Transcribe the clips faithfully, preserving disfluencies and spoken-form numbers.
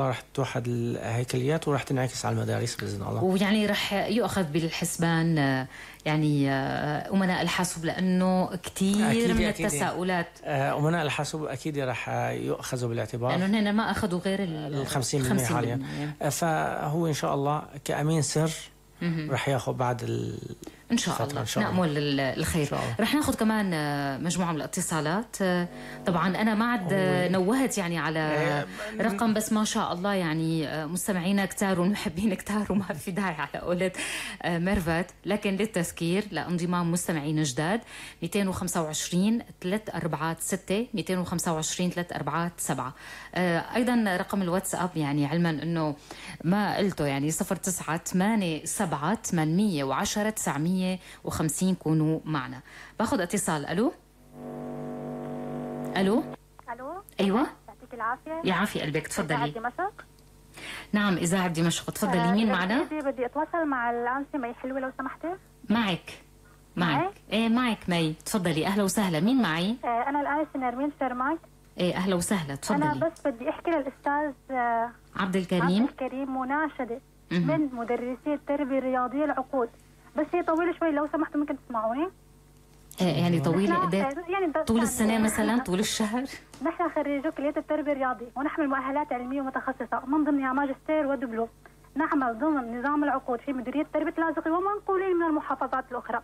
راح توحد الهيكليات وراح تنعكس على المدارس باذن الله. ويعني راح يؤخذ بالحسبان يعني امناء الحاسوب لانه كثير من أكيد التساؤلات. امناء الحاسوب اكيد راح يؤخذوا بالاعتبار لانه هن ما اخذوا غير ال خمسين بالمئة حاليا. فهو ان شاء الله كامين سر راح ياخذ بعد ال ان شاء الله. نأمل الخير. رح ناخذ كمان مجموعه من الاتصالات. طبعا انا ما عاد نوهت يعني على رقم، بس ما شاء الله يعني مستمعينا كتار ومحبين كتار وما في داعي على قولة ميرفت، لكن للتذكير لانضمام مستمعين جداد مئتين وخمسة وعشرين ثلاثة أربعة ستة مئتين وخمسة وعشرين ثلاثة أربعة سبعة. ايضا رقم الواتساب يعني علما انه ما قلته يعني صفر تسعة ثمانية سبعة ثمانمئة وعشرة تسعمئة وخمسين. كونوا معنا. باخذ اتصال. الو الو الو ايوه يعطيك العافيه. يعافي قلبك. تفضلي. إذاعة دمشق. نعم اذاعه دمشق. تفضلي. آه مين معنا؟ بدي اتواصل مع الانسه مي حلوه لو سمحتي. معك معك معي؟ ايه معك مي. تفضلي. اهلا وسهلا. مين معي؟ آه انا الانسه نرمين شرماك. ايه اهلا وسهلا. تفضلي. انا بس بدي احكي للاستاذ آه عبد الكريم عبد الكريم مناشده من مدرسي التربيه الرياضيه العقود، بس هي طويله شوي لو سمحتوا ممكن تسمعوني. إيه يعني طويله قد ايه؟ يعني طول السنه مثلا؟ طول الشهر؟ نحن خريجو كليه التربيه الرياضيه ونحمل مؤهلات علميه ومتخصصه من ضمنها ماجستير ودبلوم. نعمل ضمن نظام العقود في مديريه تربيه اللاذقي ومنقولين من المحافظات الاخرى.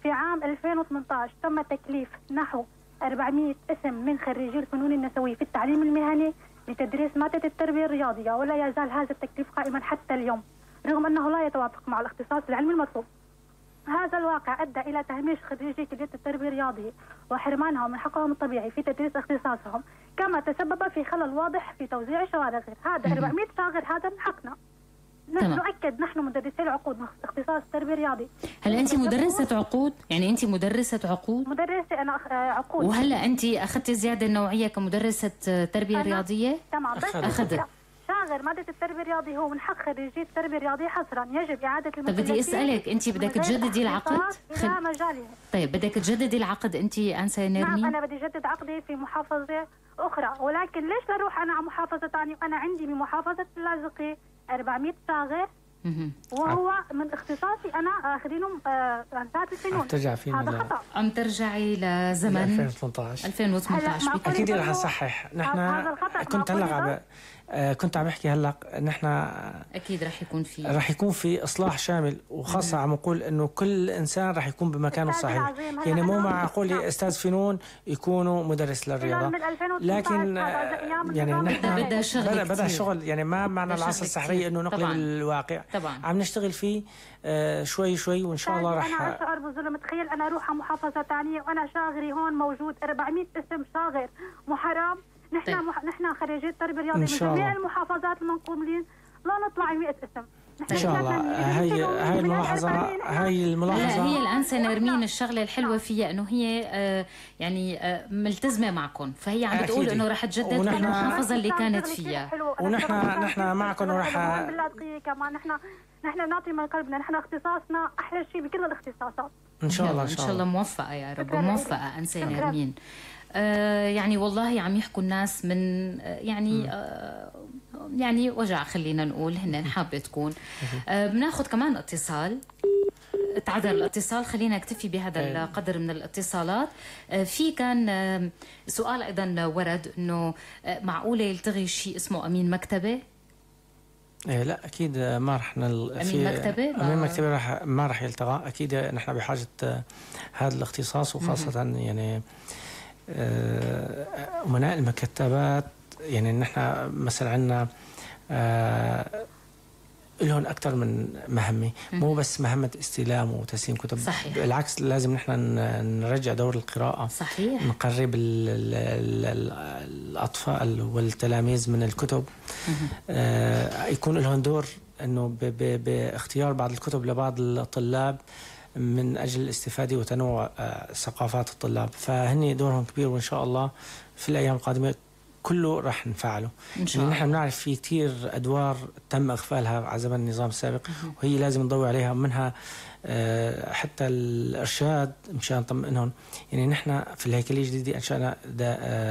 في عام ألفين وثمانية عشر تم تكليف نحو أربعمئة اسم من خريجي الفنون النسويه في التعليم المهني لتدريس ماده التربيه الرياضيه، ولا يزال هذا التكليف قائما حتى اليوم رغم انه لا يتوافق مع الاختصاص العلمي المطلوب. هذا الواقع ادى الى تهميش خريجي كليه التربيه الرياضيه وحرمانهم من حقهم الطبيعي في تدريس اختصاصهم، كما تسبب في خلل واضح في توزيع الشواغر. هذا أربعمئة شاغر هذا من حقنا. نؤكد نحن مدرسي العقود اختصاص التربيه الرياضي. هل انت مدرسه عقود؟ يعني انت مدرسه عقود؟ مدرسه انا عقود. وهلا انت اخذتي الزياده النوعيه كمدرسه تربيه رياضيه؟ تمام. بس اخذت شاغر مادة التربية الرياضية هو من حق خريجي التربية الرياضية حصرا. يجب إعادة المكلفين. طيب بدي أسألك، أنت بدك تجددي العقد؟ إلى مجالها. طيب بدك تجددي العقد أنت أنسة نرمين؟ نعم أنا بدي أجدد عقدي في محافظة أخرى، ولكن ليش بروح أنا على محافظة ثانية وأنا عندي بمحافظة اللاذقي أربعمئة شاغر وهو من اختصاصي أنا آخذينه ذات الفنون. ترجع فينا هذا خطأ. عم ترجعي لزمن ألفين وثمانية عشر ألفين وثمانية عشر. أكيد رح نصحح. نحن كنت هلا عم كنت عم بحكي هلا نحن اكيد رح يكون في رح يكون في اصلاح شامل، وخاصه عم نقول انه كل انسان رح يكون بمكانه الصحيح. يعني مو معقول استاذ فنون يكونوا مدرس للرياضه، لكن يعني نحن بدها شغل بدها شغل. يعني ما معنى العصا السحريه انه نقلب الواقع. طبعا عم نشتغل فيه آه شوي شوي وان شاء الله رح. انا اشعر بالظلم. تخيل انا اروح على محافظه ثانيه وانا شاغري هون موجود أربعمئة اسم شاغر محرم. نحن طيب. مح... نحن خريجي التربيه الرياضيه من جميع المحافظات المنقولين لا نطلع مئة اسم. ان شاء الله. هي هاي الملاحظه هاي الملاحظه هي الانسه نرمين الشغله الحلوه فيها انه هي آه يعني آه ملتزمه معكم، فهي عم بتقول انه رح تجدد في المحافظه اللي كانت فيها. ونحن نحن معكم ورح كمان نحن نحن نعطي من قلبنا. نحن اختصاصنا احلى شيء بكل الاختصاصات. ان شاء الله. ان شاء الله موفقه يا رب. موفقه انسه نرمين. آه يعني والله عم يحكوا الناس من آه يعني آه يعني وجع خلينا نقول هن حابه تكون. آه بناخذ كمان اتصال. تعذر الاتصال، خلينا نكتفي بهذا القدر من الاتصالات. آه في كان آه سؤال ايضا ورد انه آه معقوله يلتغي شيء اسمه امين مكتبه؟ إيه لا اكيد ما رح نل... امين مكتبه امين مكتبه رح ما رح يلتغى. اكيد نحن بحاجه آه هذا الاختصاص، وخاصه يعني أمناء المكتبات. يعني نحن مثلا عندنا آه لهم أكثر من مهمة، مو بس مهمة استلام وتسليم كتب. صحيح. بالعكس لازم نحن نرجع دور القراءة. صحيح. نقرب ال ال ال الأطفال والتلاميذ من الكتب. آه يكون لهم دور إنه باختيار بعض الكتب لبعض الطلاب من أجل الاستفادة وتنوع ثقافات الطلاب. فهني دورهم كبير، وإن شاء الله في الأيام القادمة كله رح نفعله. إن شاء الله. نحن بنعرف في كتير أدوار تم إغفالها على زمن النظام السابق، وهي لازم نضوي عليها، منها حتى الإرشاد مشان نطمئنهم. يعني نحن في الهيكلية الجديدة أنشأنا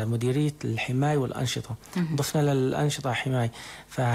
مديرية الحماية والأنشطة، ضفنا للأنشطة حماية.